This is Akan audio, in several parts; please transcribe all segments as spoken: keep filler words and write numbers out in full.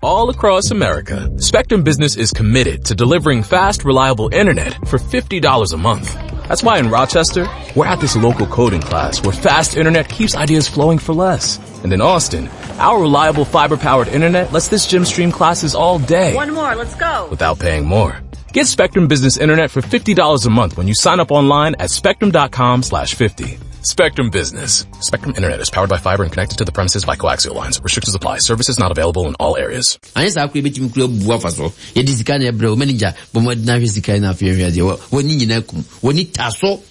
All across America, Spectrum Business is committed to delivering fast, reliable internet for fifty dollars a month. That's why in Rochester, we're at this local coding class where fast internet keeps ideas flowing for less. And in Austin, our reliable fiber-powered internet lets this gym stream classes all day. One more, let's go. Without paying more. Get Spectrum Business Internet for fifty dollars a month when you sign up online at spectrum dot com slash fifty. Spectrum Business. Spectrum Internet is powered by fiber and connected to the premises by coaxial lines. Restrictions apply. Services not available in all areas. Anyɛ saa koraa ebetumi kura bu afa so. Yɛde sika na ɛbrɛ wo manager bɔ mmɔden ahwɛ sika na afei ahwɛ adeɛ. W'ani nyinaa kum. W'ani ta so.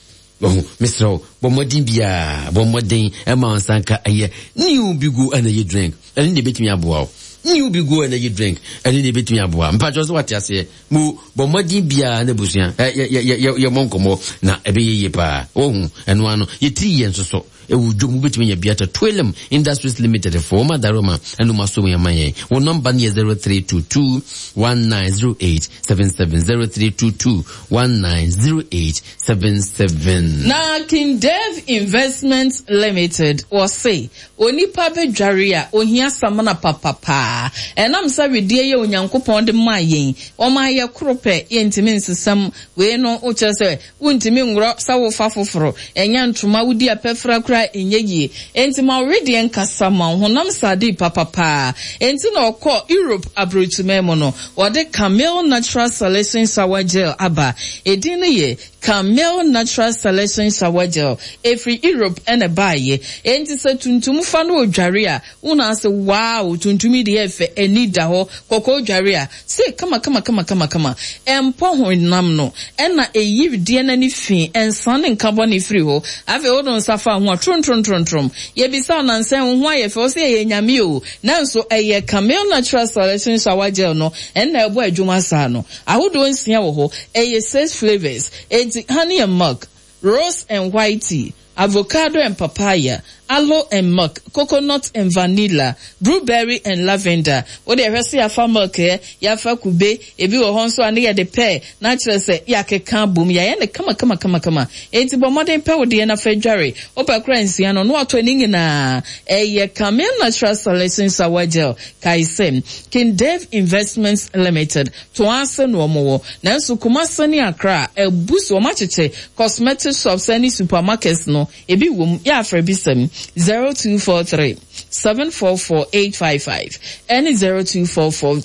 Wahu, mesrɛ wo, bɔ mmɔden biara, bɔ mmɔden ɛma wo nsa nka ɛyɛ New Bigo Energy Drink. Ɛno na ebetumi aboa wo. New Bigo Energy Drink, ɛno na ebetumi aboa. Mpakyɛw sɛ wate aseɛ. Mo bɔ mmɔden biara na abusua, ɛ, yɛ, yɛ, yɛ, yɛ, yɛmmɔ nkɔmmɔ na ɛbɛyɛ yie paa. Wahu, ɛno ano, yɛtiri yɛn nso so. Ɛwɔ dwom, wobɛtumi anya bi atɔ. Twelem Industries Limited foɔ, wɔn adaroma ɛna wɔn asom yɛn ma yɛn. Wɔn nɔmba no yɛ zero three two two one nine zero eight seven seven, zero three two two one nine zero eight seven seven. Na King Dave Investment Limited wɔse onipa bɛdware a ohia samina papapaa. Ɛnam sɛ wedeɛ yɛ Onyankopɔn de maa yɛn, ɔmaa yɛ koro pɛ, yɛntumi nsesam. Wei no wokyerɛ sɛ wontumi nworɔ sɛ wofa foforo, ɛnyɛ ntoma wodi apɛfra koraa ɛnyɛ yie. Enti ma wo wedeɛ nkasa ma wo honam sade papapaa. Enti na ɔkɔ Europe aburokyiman mu no, wɔde Camel Natural Selection Shower Gel aba. Edin no yɛ Camel Natural Selection Shower Gel. Ɛfiri Europe ɛna ɛbaeɛ. Enti sɛ tuntum fa no odware a, wona ase wow, tuntum yi deɛ ɛfɛ, ani da hɔ. Kɔkɔɔ dware a, se kama kama kama kama kama. Ɛmpɔ honam no, ɛna ɛyi wedeɛ n'ani fi, ɛnsa ne nka bɔne firi hɔ. Afei wode nsa fa ho a, trom trom trom trom. Yɛbisa wo nansɛn wo ho ayɛ fɛ, wo sɛ ɛyɛ nyame o. Nanso ɛyɛ Camel Natural Selection Shower Gel no, ɛna ɛbɔ adwuma saa no. Ahodoɔ nsia wɔ hɔ, ɛyɛ six flavors. Enti honey and milk, rose and white tea, avocado and papaya, aloe and milk, coconut and vanilla, blueberry and lavender. Wo de ɛhwɛ sɛ yɛafa milk ɛ, yɛafa kube, ebi wɔ hɔ nso a ne yɛde pɛɛ, na kyerɛ sɛ yɛakeka abom, yɛayɛ no kama kama kama kama. Enti bɔ mmɔden pɛ wo deɛ na fa dware. Wopɛ kora nsia no, na watɔ ne nyinaa. Ɛyɛ Camel Natural Selection Shower Gel. Kae sɛ, King Dave Investments Limited, to ase na wɔn wɔ. Nanso Kumasi ne Accra, abu so wɔn akyekyɛ cosmetic shops ne supermarkets no, ebi wɔ mu. Yɛ afrɛ bi sɛm zero two four three seven four four eight five five ɛne zero two four four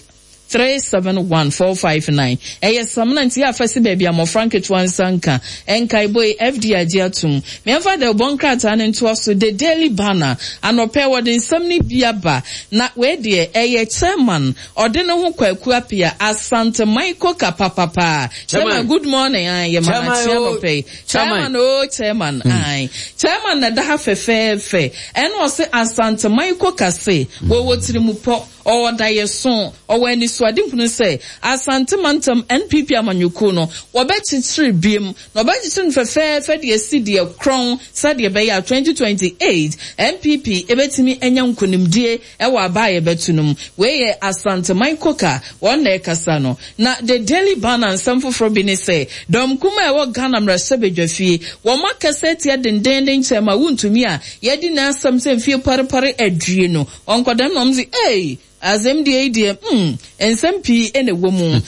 three seven one four five nine. Ɛyɛ samina nti yɛ afɛ si baabi a mmɔfra nketewa nsa nka. Nkaebɔ yi F D A gye atom. Mmeɛmfa de ɔbɔ nkrataa ne ntoa so The Daily Banner. Anɔpɛ wɔde nsɛm ne bi aba. Na wei deɛ ɛyɛ chairman ɔde ne ho Kwaku Appiah Asante Michael kapapapa. Chairman, good morning. Ayi yɛ mana Chairman, kyia oh, anɔpɛ yi. Chairman. Chairman oh chairman. Ayi chairman na da ha fɛfɛɛfɛ. Ɛna ɔse Asante Michael kase wɔwɔ tirimupɔ. Ɔwɔ dayeso, ɔwɔ anisoade hunu sɛ Asante Mantam N P P amanyɔkuo no wɔbɛkyekyere biem na wɔbɛkyekyere no fɛfɛɛfɛ de asi deɛ korɔn sɛdeɛ ɛbɛyɛ a twenty twenty-eight N P P ebɛtumi anya nkonimdie ɛwɔ aba a yɛbɛto no mu. Wei yɛ Asante Michael wɔn na ɛkasa no. Na The Daily Banner nsɛm foforɔ bi ne sɛ dɔm kuma a ɛwɔ Ghana mmarahyɛbadwafie wɔn akasa atia dendenden kyɛn ma wontumi a yɛdi n'asɛm sɛ mfie parepare adwie no. Ɔnkɔdɛm na ɔmo se, Ei, asɛm deɛ yi deɛ, hmm, nsɛm pii ɛna ɛwɔ mu.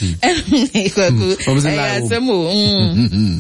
Kwaku, Ɔmo se ɛyɛ lie wɔ mu. asɛm o, hmm.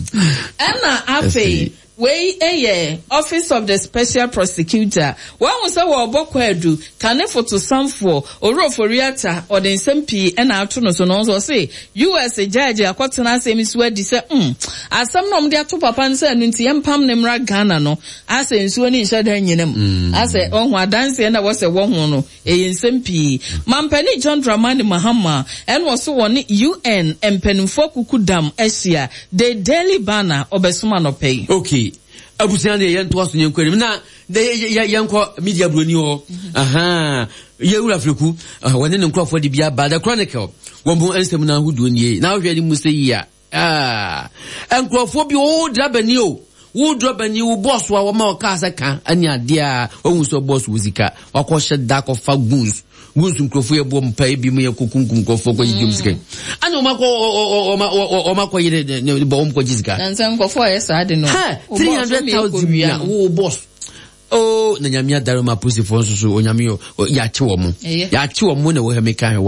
Ɛna afei, wei ɛyɛ Office of the Special Prosecutor. Wɔn sɛ wɔrebɔ kwaadu, kane fotosanfoɔ, Owura Ofori-Atta, ɔde nsɛm pii ɛna ato no so no, ɔnso ɔse, U S judge akɔtena asɛm so adi sɛ, hmm, asɛm na ɔmo de ato papa no sɛ ɛno nti yɛmpam ne mmra Ghana no, asɛ nsuo ne nhyɛ da nyina mu. Mm. Asɛ ɔho adanseɛ na wɔsɛ wɔho no, ɛyɛ nsɛm pii. Mampani John Dramani Mahama, ɛna ɔso wɔ ne U N mpanimfoɔ kuku dam ahyia. The Daily Banner, ɔbɛsoma nɔpɛ yi. Okay. Abusua deɛ yɛntoa so yɛnkɔ anim. Na, de, yɛ, yɛ, yɛnkɔ media buroni hɔ. Aha. Yɛwura Freku, ah, wɔne ne nkurɔfoɔ de bi aba. The Chronicle, wɔn ho nsɛm no ahodoɔ nie. Na wohwɛ ne mu sɛ yi a, ah, nkurɔfoɔ bi, wo drabani o. Wo drabani, wo bɔs a wɔma wo kaa sɛ ka, ɛne adeɛ a, wɔhu sɛ bɔs wɔ sika. Wakɔhyɛ da akɔfa goons. Goons nkurɔfoɔ yɛ bɔ mpa ebi mu yɛ kɔkunkum nkurɔfoɔ kɔ gyegye sika. Ɛna wɔn akɔ, ɔ, ɔ, ɔ, ɔ, ɔ, wɔn akɔ yere ne, ne, bɔ wɔn kɔ gye sika. Na nsɛm nkurɔfoɔ yɛ saa de no. Ha, Wo three bɔs hundred wɔn yɛ thousand kɔ wia na no. wo bɔs. Oh, na nyame adare ma apolisifoɔ nso so, onyame yɛ, yɛakye wɔn mo. Ɛyɛ. Yɛakye wɔn mo na wɔ ha meka hwɛ.